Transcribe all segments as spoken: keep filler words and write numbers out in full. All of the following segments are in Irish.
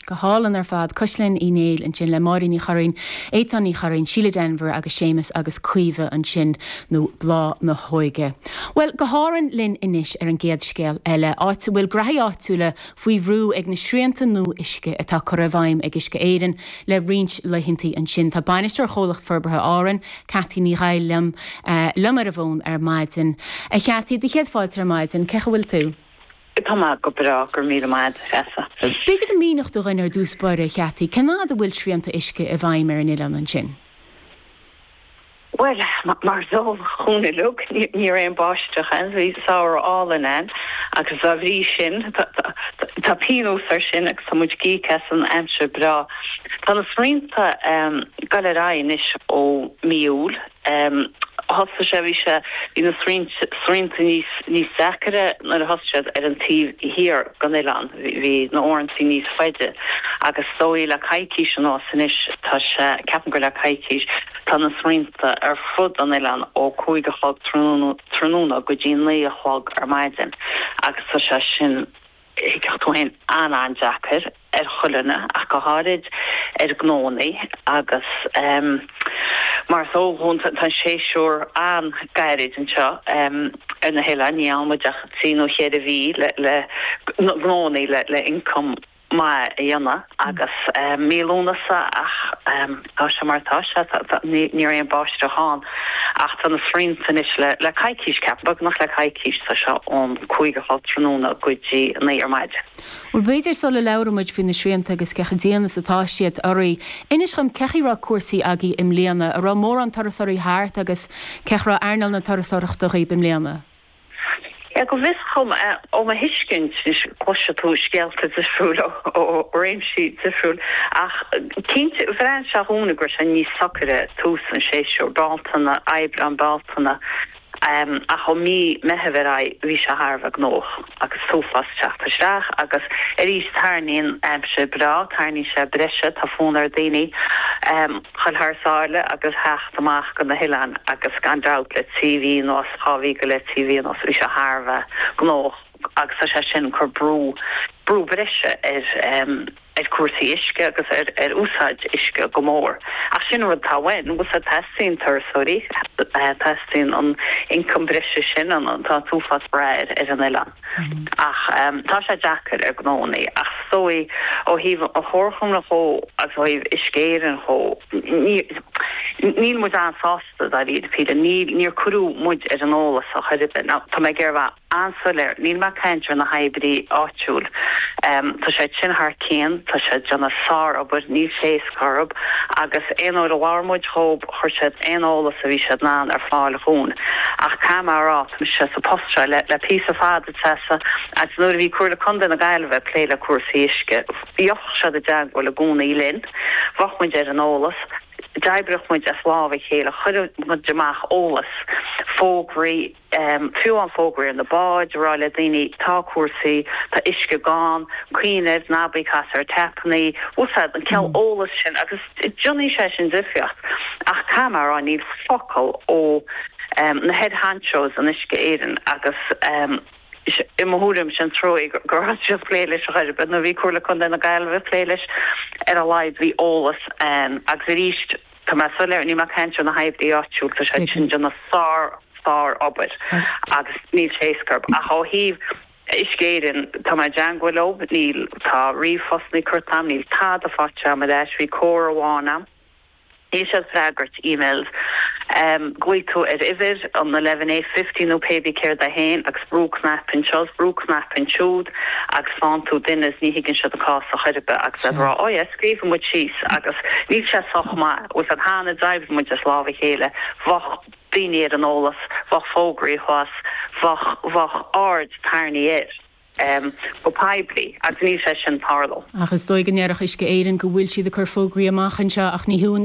Go hálainn ar fad Cuisleann Uí Néill ansin le Máirín Ní Churraoin, Étáin Ní Churraoin, Síle Denvir agus Séamus agus Caoimhe ansin nó Bláth na hÓige. Well go hÁrainn linn anois ar an gcéad scéal eile, áit a bhfuil gnóthaí áitiúla faoi bhrú ag na srianta nua uisce atá curtha i bhfeidhm ag Uisce Éireann le roinnt laethanta ansin. Tá bainisteoir Chomhlacht Forbartha Árann, Cathy Ní Ghadhla liom uh, liom ar an bhfón ar maidin. A Chathy do chéad fáilte ar maidin, cén chaoi a bhfuil tú? Tá mé go breá go raibh míle maith Treasa. B'fhéidir go míneodh tú dúinn ar dtús báire Chathy, cén fáth a bhfuil srianta uisce i bhfeidhm ar an oileán ansin. Well mar is eol dúinn uilig ní raibh aon bháisteach ann bhí samhradh álainn ann agus dá bhrí sin tá pionós ar sin agus tá muid ag íoc as an aimsir breá. Tá na srianta um, gal ar anois ó mí Iúil um, thosaigh sé bhí sé bhí na srianta níos níos deacaire nuair a thosaigh siad ar an taobh thiar den oileán bhí na huaireanta níos faide agus sóí le coicís anuas anois tá sé ceapaim gur le coicís tá na srianta ar fud an oileáin ó cúig a chlog tráthnóna go dtí naoi a chlog ar maidin agus tá sé sin tú an an-deacair ar chuile dhuine ach go háirid ar gnóthaí agus um, mar is eol tá séasúr an-ghairid anseo um, ar na hoileáin ní ach trí nó ceithre mhí le le gnóthaí le le income maith a dhéanamh agus um, mí Lúnasa ach um, tá sé mar tá sé ní raibh aon bháisteach ann ach tá na srianta anois le le coicís ceap beagnach le coicís tá seo ón cúig a chlog tráthnóna go dtí naoi ar maidin. Well b'fhéidir sula labhraíonn muid faoi na srianta agus cé chomh dian is atá siad oraibh. Inis dom cén chaoi a raibh cúrsaí agaibh i mbliana an raibh mórán turasóirí thart agus cén chaoi a raibh earnáil na turasóireachta agaibh i mbliana. Ja go bhfios dom ó mo thuiscint cloiseann tú scéalta difriúil ó réimsí difriúil ach cinnte bhraith sé dhúinn go raibh sé níos socaire tús an séasúr Bealtaine Aibreán Bealtaine um, ach ó mí Mheithimh ar aghaidh bhí sé thar a bheith gnóthach agus uafás teacht isteach agus arís tarraingíonn aimsir breá tarraingíonn sé breise tá fonn ar daoine um, chun thar sáile agus theacht amach go na hoileáin agus gan dabht le trí mhí nó dhá mhí go le trí mhí nó bhí sé thar a bheith gnóthach agus tá sé sin cur brú brú breise ar um, ar cúrsaí uisce agus ar ar úsáid uisce go mór. Ach sin rud tá bhain gus a teastaíonn turasóirí teastaíonn an income breise sin an tá uafás brú ar ar an oileán. Mm. Ach um, tá sé deacair ar gnóthaí ach sóí ó thaobh an chomhairle dhó agus ó thaobh Uisce Éireann dhó níl muid an-sásta dáiríre ní níor cuireadh muid ar an eolas a chuir Tá mé ag rá an-soiléir níl mé ag caint ar na hoibrithe áitiúil. Um, tá sé sin thar cionn tá sé déanamh sárobair níl sé scorb agus aon uair a labhair muid leo chuir siad aon eolas a bhí siad in ann ar fáil dhúinn. Ach cá rá sé sa post seo le, le píosa fada Treasa agus nuair a bhí Comhairle Contae na Gaillimhe ag plé le cúrsaí uisce. Bhíodh siad i dteagmháil i gcónaí linn, bheadh muid ar an eolas, d'oibrigh muid as lámh a chéile chuir muid amach eolas fógraí um, fiú an fógraí ar na báid rá le daoine tá cúrsaí tá uisce gann cuimhnigh ná bí ag casadh ar tapanna úsáid an cineál mm. eolas sin agus déanann sé sin difríocht ach cá rá níl focal ó um, na head honchos in Uisce Éireann agus um, i mo thuairim sin trua gur just plé leis a chuir nó bhí Comhairle Contae na Gaillimhe plé leis ar a laghad bhí eolas um, agus arís Tá mé soiléir ní mé ag caint ar na hoibrithe áitiúil tá sé sin déanamh sár sárobair agus níl sé scorb ach ó thaobh Uisce Éireann tá mé i dteagmháil leo níl tá ríomhphostanna curtha a'm níl tada faighte a'm leis bhí comhrá amháin a'm. Níl siad ag freagairt emails. Um, Glaoigh tú ar uimhir an eleven eight fifty nó pé céard a haon agus brú cnaipe anseo brú cnaipe ansiúd agus faigheann tú duine ní thuigeann siad an cás a chur agus a rá ó yeah, scríobh muid síos agus níl sé sách maith us an hána d'oibrigh muid as lámh a chéile bheadh daoine ar an eolas, bheadh fógraí thuas, bheadh bheadh aird tarraingthe air. Um, go poiblí agus níl sé sin tarlú. Ach is dóigh go ndéarfadh Uisce Éireann go bhfuil siad ag cur fógraí amach anseo ach ní thú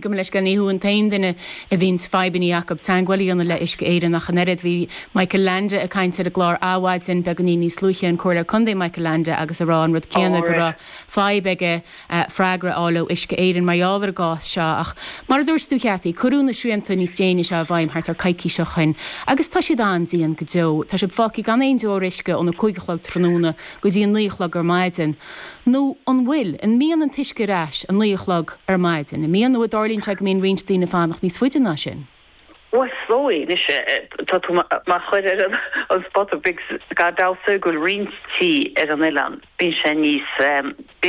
go leis ní thú an t-aon duine a bhíonn fadhbanna acu teagmháil a dhéanamh le Uisce Éireann ach an oiread bhí Michael Leainde ag caint ar an gclár Adhmhaidin beagáinín níos luaithe an Comhairleoir Contae Michael Leainde agus ag rá an rud céanna go raibh fadhb aige uh, freagra a fháil ó Uisce Éireann mar gheall ar an gcás seo ach mar a dúirt tú Chathy cuireadh na srianta níos déine seo i bhfeidhm thart ar coicís ó shin agus tá siad an-dian go deo Tá sibh fágtha gan aon deoir uisce óna cúig chlog tráthnóna go dtí a naoi a chlog ar maidin. Nó an bhfuil, an mbíonn an t-uisce ar ais a naoi a chlog ar maidin? An mbíonn nó an dtarlaíonn sé go mbíonn roinnt daoine ag fanacht níos faide ná sin? Bhuel, is dóigh, anois, tá tú mo chur ar an spota beag gan dabht go bhfuil roinnt tí ar an oileán, bíonn sé níos, bíonn